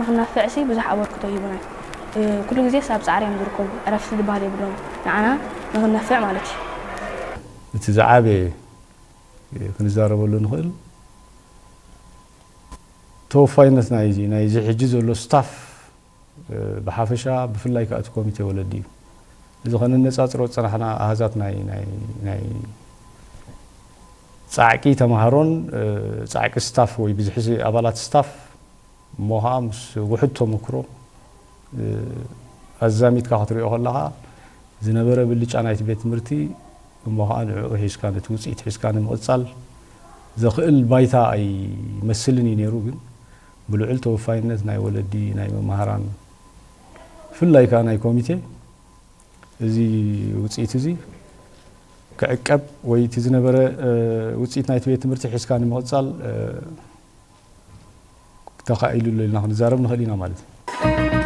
ንክናፍዕሲ ብዙሕ ኣበርክቶ ይህቡና። ኩሉ ግዜስ ኣብ ፃዕሪ እዮም ዝርከቡ። ዕረፍቲ ዝበሃል የብሎም። ንዓና ንክነፍዕ ማለት እዩ። እቲ ዝዓበየ ክንዛረበሉ ንኽእል ተወፋይነት ናይዚ ናይዚ ሕጂ ዘሎ ስታፍ ብሓፈሻ፣ ብፍላይ ከዓ እቲ ኮሚቴ ወለዲ እዩ። እዚ ከነነፃፅሮ ዝፀናሕና ኣሃዛት ናይ ናይ ናይ ፃዕቂ ተምሃሮን ፃዕቂ ስታፍ ወይ ብዝሒ ኣባላት ስታፍ እሞ ከዓ ምስ ውሑድ ተመክሮ ኣዛሚድካ ክትሪኦ ከለካ ዝነበረ ብልጫ ናይቲ ቤት ትምህርቲ እሞ ከዓ ንዕኡ ሒዝካ ነቲ ውፅኢት ሒዝካ ንምቕፃል ዘኽእል ባይታ ኣይመስልን እዩ ነይሩ። ግን ብልዑል ተወፋይነት ናይ ወለዲ ናይ መምሃራን ብፍላይ ከዓ ናይ ኮሚቴ እዚ ውፅኢት እዚ ክዕቀብ ወይ እቲ ዝነበረ ውፅኢት ናይቲ ቤት ትምህርቲ ሒዝካ ንምቕፃል ተኻኢሉ ኣሎ ኢልና ክንዛረብ ንኽእል ኢና ማለት እዩ።